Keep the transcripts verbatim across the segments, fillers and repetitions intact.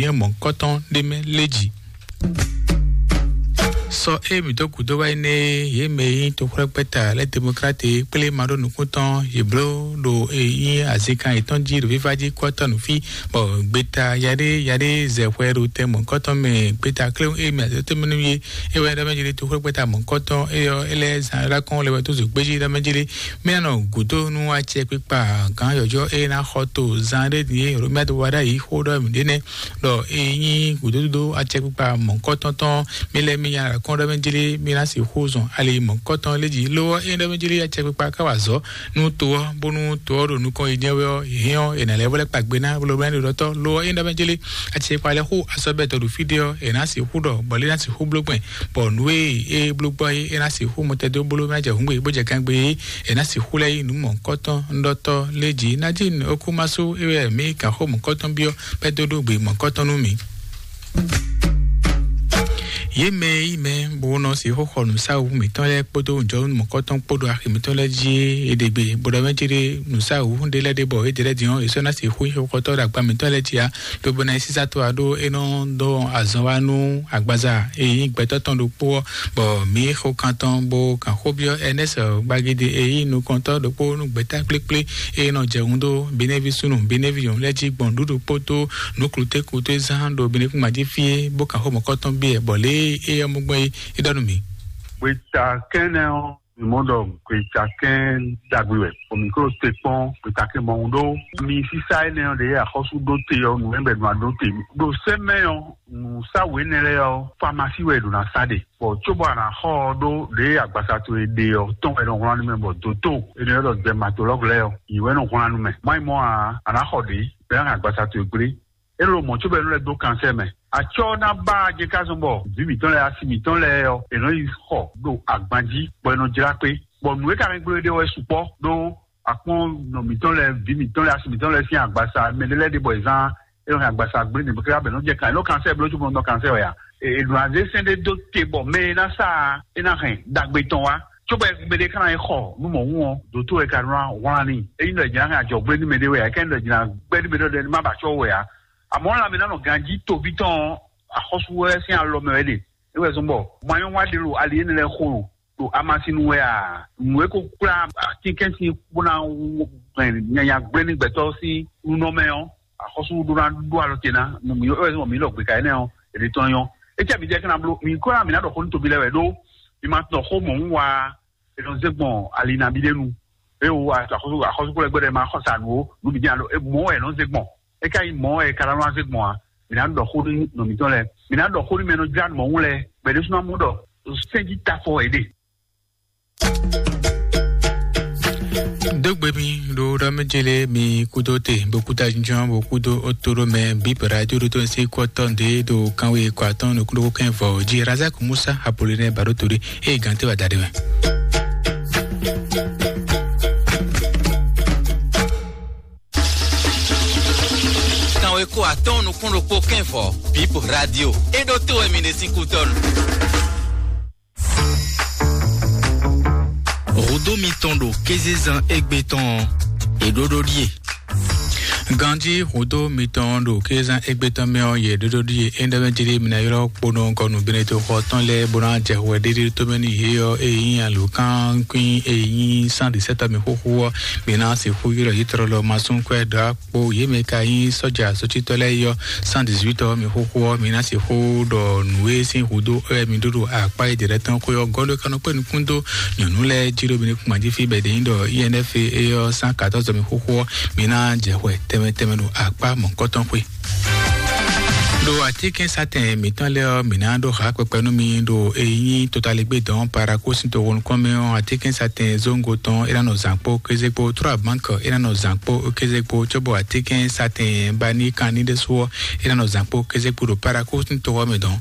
nyɛ mɔ̌kɔtɔn ɖé mɛ lé jǐ. Sɔ e mǐ dó gǔdo wá yi nɛ, yě mɛ e nyí toxwlɛ́gbɛ́ta lɛ́ demokrati kplé ma ɖó nukúntɔn yě bló ɖo e nyí azinkan yětɔn jí ɖo fífá jí kɔ́tɔ́ nǔ fí, bɔ gbeta yaɖé yaɖé zɛ hwɛ ɖo tɛ mɔ̌kɔtɔn mɛ. Gbeta kléwún e mɛ azɔ̌ tɛ́ mɛ nú yé, é wɛ ɖɔ mɛ jlé toxwlɛ́gbɛ́ta mɔ̌kɔtɔn é ɔ́, é lɛ́ zán é lá kɔn lɛ wɛ tó zǒgbéjí ɖɔ mɛ jlé. Mɛ nɔ gǔdo nú acɛkpikpa gǎn yɔ̌yɔ́ e ná xɔ to zan ɖé din e Romia dó wa ɖ'ayǐ xó ɖɔ mǐ ɖé nɛ́, ɖɔ e nyí gǔdódó acɛkpikpa mɔ̌kɔtɔn tɔn, mi lɛ́ mi nya kɔn ɖɔ mɛ jlé mi ná sixú zɔn ali mɔ̌kɔtɔn lé jí. Lo ɔ́, é ɖɔ mɛ jlé acɛkpikpa ká wa azɔ̌ nú to ɔ́, bónú to ɔ́ ɖo nukɔn yi jɛ́n wɛ ɔ́, hɛn ɔ́, è nǎ lɛ́ vɔ lɛ́ kpa gbe ná bló bló ɖɔ tɔ́. Lo ɔ́, é ɖɔ mɛ jlé acɛkpikpa lɛ́ xú asɔ́ bɛtɔ ɖo fí ɖé ɔ́, è nǎ sixú ɖɔ bɔ lé ná sixú bló gbɛn, bɔ nǔ e é bló gbɔ é, é ná sixú mɔtɛdó bló ná jɛ hǔngbè bó jɛ gangbe é, è nǎ sixú lɛ́ yí nǔ mɔ̌kɔtɔn ŋɖɔtɔ́ lé jí. Nadine Okumaso é wɛ mǐ kan xó mɔ̌kɔtɔn byɔ́ bɛ́ dó ɖó gbe mɔ̌kɔtɔn nú mǐ. Yě mɛ e yí mɛ bó nɔ sixú xɔ nǔsáwǔ mǐtɔn lɛ́ɛ kpódó nǔjɔnú mɔ̌kɔtɔn kpó ɖo axi mǐtɔn lɛ́ɛ jí é ɖe gbe, bó ɖɔ mɛ céɖé nǔsáwǔ ɖé lɛ́ɛ ɖe bɔ é ɖe lɛ́ɛ din ɔ́, è sɔ́ ná sixú nyí xɔxɔtɔ́ ɖo agba mǐtɔn lɛ́ɛ jí ǎ, lobo ná yi sísá to ǎ ɖó é nɔ dó azɔn wá nú agbaza e nyí gbɛtɔ́ tɔn ɖokpó ɔ́, bɔ mǐ xo kan tɔn bó kan xó byɔ́ Ernest Gbagidi e nyí nukɔntɔ́ ɖokpó nú gbɛ̌ta kplékplé e nɔ jɛ hun dó Benevi súnnu Benevi nyɔ̌nu lɛ́ɛ jí gbɔn nǔɖuɖu kpódó nǔklutɛ́kutɛ́ zán ɖo Benekúngban jí fí é, bó kan xó mɔ̌kɔtɔn byɔ́ ɛ, bɔ lě e é yɔ mɔ gbɔn é, é ɖɔ nú mǐ. Gbeta kɛ́nɛ ɔ́, mǐ mɔ ɖɔ gbeta kɛ́n ɖagbe wɛ, bɔ mǐ ko te kpɔ́n gbeta kɛ́n mɔhun ɖó. Mi sísá énɛ́ ɔ́ ɖě axɔ́sú ɖó te ɔ́, nǔ e bɛ nɔ ɖó te ɖo sɛ́ mɛ ɔ́, nǔsáwǔ énɛ́ lɛ́ɛ ɔ́, famasi wɛ è ɖǒ ná sa ɖe. Bɔ cóbɔ a nǎ xɔ ɔ́ ɖó ɖěe agbaza towe ɖe ɔ́ tɔn wɛ nɔ wlán nú mɛ, bɔ dǒtó e nɔ ylɔ́ ɖɔ dɛmatolɔ́gu lɛ́ɛ ɔ́, yě wɛ nɔ wlán nú mɛ. Má nyí mɔ̌ ǎ, a nǎ xɔ ɖě, bɔ é ná hɛn agbaza towe gblé. É ɖo mɔ̌ cóbɔ é nɔ lɛ́ dó kansɛ́ mɛ. Acɔ́ ɔ́ ná ba jɛ ká zɔn bɔ vǐ mǐtɔn lɛ́ɛ, asi mǐtɔn lɛ́ɛ ɔ́, è nɔ yi xɔ ɖo agban jí, bɔ è nɔ jlá kpé, bɔ nǔ e ka hɛn gbló é ɖe ɔ́ wɛ sukpɔ́ ɖó akpɔ́n nɔ mǐtɔn lɛ́ɛ, vǐ mǐtɔn lɛ́ɛ, asi mǐtɔn lɛ́ɛ sín agbaza, mɛ ɖé lɛ́ɛ ɖe bɔ è zán é nɔ hɛn agbaza gblé nǔ bɔ é ká bɛ nɔ jɛ kan, é nɔ kansɛ́ bló cóbɔ nɔ kansɛ́ wɛ ǎ. È nɔ azé sɛ́n ɖé dó te bɔ mɛ e ná sa ɔ́, é ná hɛn ɖagbe tɔn wá. Cóbɔ mɛ ɖé ka ná yi xɔ nú mɔ̌hun ɔ́, dǒtó wɛ ka nɔ wlán n'i. Ényí ɖɔ è jǐ ná hɛn ajɔ̌gbé nú mɛɖé wɛ ǎ, é ká nyí ɖɔ è jǐ ná gbɛ́ nú mɛɖé ɖɔ má ba acɔ́ wɛ ǎ. Amɔ̌, lanmɛ ná nɔ ganjí toví tɔn ɔ́, axɔ́sú wɛ sín alɔ mɛ wɛ ɖe. É wɛ zɔ́n bɔ manyɔ́wa ɖé ɖo ali énɛ́ lɛ́ɛ xo ɖo ɖo amasin nu wɛ a? Nǔ e ko kplá atínkɛ́nsin bó ná nyanya gblé ní gbɛtɔ́ sín nunɔ mɛ ɔ́, axɔ́sú ɖó ná ɖó alɔ te ná nú mǐ wɛ zɔn mǐ ɖɔ gbeka énɛ́ ɔ́, è ɖe tɔn nyɔ́. É cɛ mǐ jɛ kɛ́ ná bló, mǐ kó ná mǐ ná ɖɔ xó nú tobi lɛ́ɛ wɛ ɖó mi ma tɔ xó mɔ̌ wá, è nɔ zé gbɔn ali nabí ɖé nu. É wo axɔ́sú axɔ́sú kplɔ́ gbɛdɛ ma xɔ sa nǔ ó, nǔ bǐ dín alo é mɔ̌ wɛ è nɔ zé gbɔn. É ka nyí mɔ̌ wɛ è ka ná nɔ zé gbɔn ǎ. Mǐ ná ɖɔ xó nú nɔ mǐtɔn lɛ́ɛ. Mǐ ná ɖɔ xó nú mɛ e nɔ jlá nǔ mɔ̌ wú lɛ́ɛ, bɔ è ɖésúnɔ mɔ ɖɔ sɛ́n jí tafɔ è ɖe. Dógbe mi ɖo ɖɔ mɛ jele mi kudo te bo kuta jinjɔn bo kudo oto ɖo mɛ bi bra jo ɖo to si kɔ tɔn de ɖo kanwe kɔ atɔn nukun ɖo kɛn vɔ ji Razak Musa Apollinaire Baroto ɖe eye gante wa da ɖe mɛ. Kanwe kɔ atɔn nukun ɖokpo kɛn vɔ Bip Radio e ɖo to wɛ mi ɖe sín kutɔnu. Hǔdó mitɔn ɖo kézezán égbé tɔn ɔ́, è ɖó ɖó ɖíe. Ganjí hǔdó mitɔn ɖo kézezán égbé tɔn mɛ ɔ́, yě ɖó ɖó ɖíe. É ɖɔ mɛ jí ɖé mi ná ylɔ́ kponɔ gɔnu Beneto xɔ tɔn lɛ́ɛ bó ná jɛ hwɛ ɖéɖé tó mɛ n'i yě ɔ́, eye nyí alǒkankwín eye nyí cent dix-sept ɔ́ mi xóxó ɔ́, mi ná sixú ylɔ́ yě tlɔlɔ masúnkwɛ́ ɖɔ̌ kpo yě mɛ ka nyí sɔ́ja sócítɔ́ lɛ́ɛ yɔ cent dix-huit ɔ́ mi xóxó ɔ́, mi ná sixú ɖɔ nǔ e sín húdó wɛ mi ɖó ɖo akpá e jɛ lɛ́ɛ tɔn xwé ɔ́ gɔ́ ɖó é ka nɔ kpé nukún dó nyɔ̌nu lɛ́ɛ jí ɖó mi ní kún ají fí bɛ̌ ɖě nyí ɖɔ I N F e ɔ́ cent quatorze mi xóxó ɔ́, mi ná jɛ hwɛ tɛnmɛ tɛnmɛ ɖo akpá mɔ̌kɔtɔn xwé. Ɖo atínkɛnsatɛn mǐtɔn lɛ́ɛ ɔ́, mǐ ná ɖó ha kpɛkpɛ nú mi ɖo e nyí totaligbé dɔn paraku sín toxo nukɔn mɛ ɔ́, atínkɛnsatɛn zóngo tɔn é ná nɔ zǎn kpó kéze kpó, trɔ́ abǎnkɔ é ná nɔ zǎn kpó kéze kpó, cóbɔ atínkɛnsatɛn baníkan ní ɖésú ɔ́, é ná nɔ zǎn kpó kéze kpó ɖo paraku sín toxo mɛ dɔn.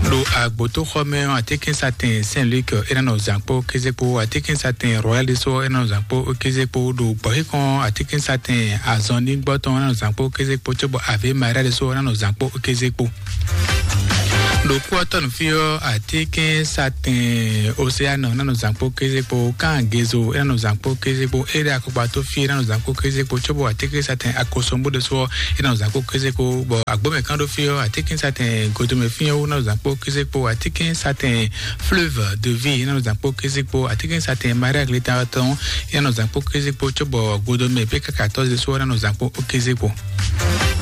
Ɖo agbotoxɔ mɛ ɔ́, atínkɛnsatɛn Saint Luc é ná nɔ zǎn kpó kéze kpó, atínkɛnsatɛn Royal ɖésú ɔ́, é ná nɔ zǎn kpó kéze kpó, ɖo gbɔ̌xíkɔn atínkɛnsatɛn azɔnɖígbɔ́ tɔn é ná nɔ zǎn kpó kéze kpó, cóbɔ Ave Maria ɖésú ɔ́, é ná nɔ zǎn kpó kéze kpó. Ɖo kú ɔ́ tɔnu fí ɔ́, atínkɛ́nsatɛn Océane ná nɔ zǎn kpó kéze kpó, Kan Gezo é ná nɔ zǎn kpó kéze kpó, Ere Akɔkpa tó fí é ná nɔ zǎn kpó kéze kpó, cóbɔ atínkɛ́nsatɛn Akosombo ɖésú ɔ́ é ná nɔ zǎn kpó kéze kpó, bɔ agbómɛ kán ɖó fí ɔ́, atínkɛ́nsatɛn Godomɛ fí ɔ́ wú ná nɔ zǎn kpó kéze kpó, atínkɛ́nsatɛn Fleuve de Vie é ná nɔ zǎn kpó kéze kpó, atínkɛ́nsatɛn Maria Glita tɔn é ná nɔ zǎn kpó kéze kpó, cóbɔ Godomɛ pé káka tɔ́ ɖésú ɔ́ ná nɔ zǎn kpó kéze kpó.